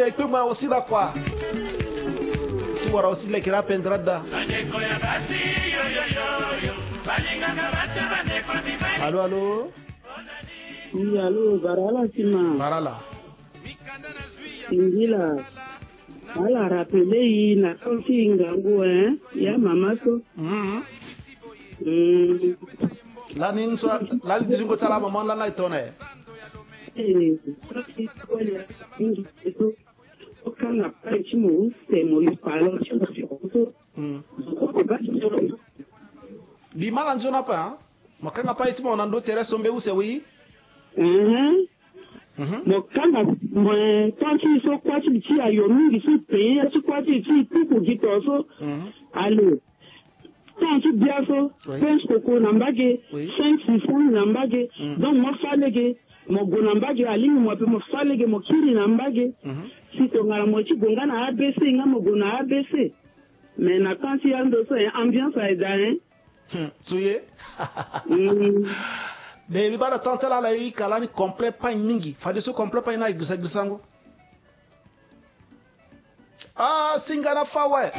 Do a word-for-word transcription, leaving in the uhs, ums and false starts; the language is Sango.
Ekpe ma aussi la quoi. Ti wara aussi leke la pendra da. Allô, allô. Oui, allô, barala sima. Barala. Ingila. Ala rapele yi na kanti ngangu, hein. Ya mama so. Mhm. Mm. Lani nso lani dizingo ti ala mama lani la e tone. Eh, okanga pai ti mo use mo li palo ti mo ti kutu. Mhm. Oko ba ti mo. Bi mala nzoni ape, hein. Mo kanga pai ti mo na ndo tere so mbe use wi. Mhm. Mhm. Mo kanga mo, eh, tant ti so kuâ ti li ti ayo mingi so peye ya ti kuâ ti li ti tuku gi to so. Mhm. Allez. Tant ti bia so. Oui. Prince koko na mbage. Oui. Saint Sisane na mbage. Mm. Donc mo fa lege. Mo gue na mbage, alingbi mo ape mo fa lege mo kiri na mbage. Mhm. Si tongana mo ye ti gue nga na A B C nga mo gue na A B C. Mais na temps ti yando so, hein, ambiance aye daa, hein. Hmm, so ye. Mm. Mais mbi baa na temps ti ala ala e hika lani complet pagne mingi. Fadeso complet pagne ni aye gbisa gbisango. Ah, singa na fa awe.